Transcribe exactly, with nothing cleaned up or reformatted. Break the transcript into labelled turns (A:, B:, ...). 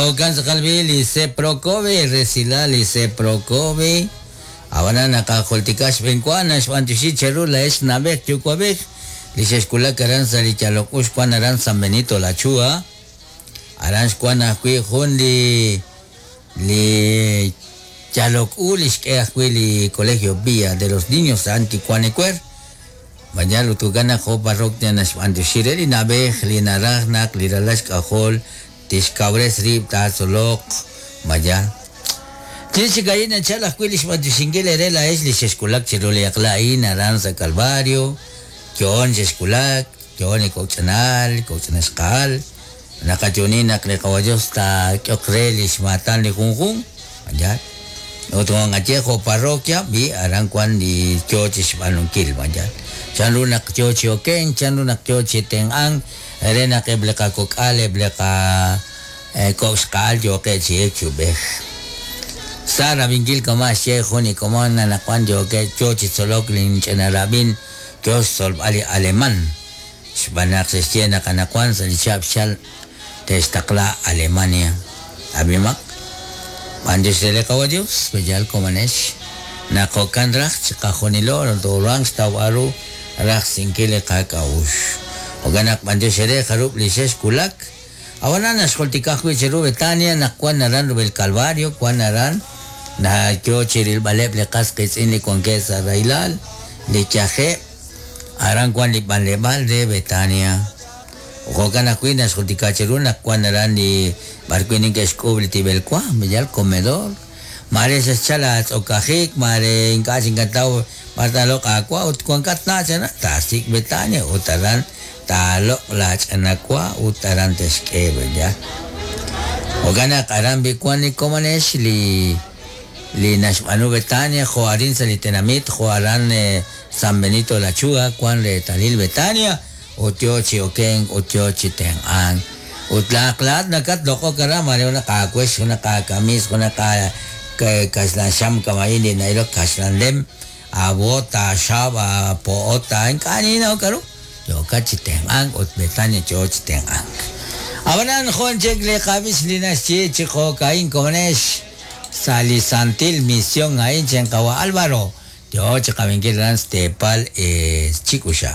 A: Jo'kan tz'aqal bi li Seprocovi, resilal li Seprocovi. Ab'anan naqajultika xb'eenwa naxb'anyoxi cheru la'ex nab'ej yuwa'b'ej li xexkulak aran sa' li yalok u xwan aran San Benito La Chua. Aran xwan ajwi' jun li li yalok u li xk'e ajwi' li Colegio Villa de los Niños Anticuanecuer. Mañana utukan jo parroquia naxb'anyoxi re li nab'ej li naraj naq li ralal xk'ajol tixkawres rib' taatzoloq maya. Chixikayin nachal ajwi' li xb'anyoxinkil ere la'ex li xexkulak chiru li aqla'in aran sa' Calvario, yo'on xexkulak, yo'on li kok'ch'anal, kok'ch'anaxqa'al, naqayoni naq li qawayos taak'oq re li xmaatan li junjun, maya. Ut q'aye jo parroquia bi aran wan li yo chixb'aanunkil, maya. Chanru naq yo chi oken, chanru naq yo chi tenq'an, re naq eb' li qakok'al, eb' li qa kok'xqa'al yoqe chi ek chub'ej. Sa rabinkil kama xye jun li komon nanaqwan yoqe yo chi tzolok linch'inarab'in yo xtzolb'al li alemán. Xb'aan naq xexye naq anaqwan sa' li chihab' xchal te'xtaqla Alemania. Abimaq, b'anyox re li qawa Dios, b'eyal komanex. Naq jo'kan raj chiqajunilo tooruhanq xtawb'al ru raj sinkil li qak'a'uxl. Jo'kan naq b'anyox re jarub' li xexkulak. Ab'anan naxjultika ajwi' chiru Betania naq wan aran rub'el Calvario, wan aran na yo chirilb'aleb' li qas qiitz'in li wankeb' sa' rahilal, li yajeb', aran wan li b'anleb'aal re Betania. Jo'kan ajwi' naxjultika chiru naq wan aran li b'arwi' neke'xk'uub' li tib'elwa, b'eyal comedor. Mare xexchal atz'okajik, mare ink'a' xinkataw b'ar taaloq' aawa ut wankat na' chana taasik' Betania ut aran taaloq' laach'anawa ut aran texk'e b'eyal. Jo'kan naq aran bi wan li komanex li li naxb'aanu Betania jo arin sa' li tenamit jo aran San Benito La Chua wan reetalil Betania ut yo chi oken ut yo chi tenq'an. Ut laaqlaat nakat loq'ok aran mare junaq aawex, junaq aakamis, junaq kaxlan xam kamayin li nailok kaxlan lem, abota, xab, po'ota, ink'a' ninaw k'aru. Yokat chi tenq'an ut Betania yo chi tenq'an. Ab'anan jun chik li qab'ix li naxye chi jo'ka'in komanex sa' li Santil Misión a'in chenqawa Álvaro. Yo chi qabinkil aran Stepal Chikuxa.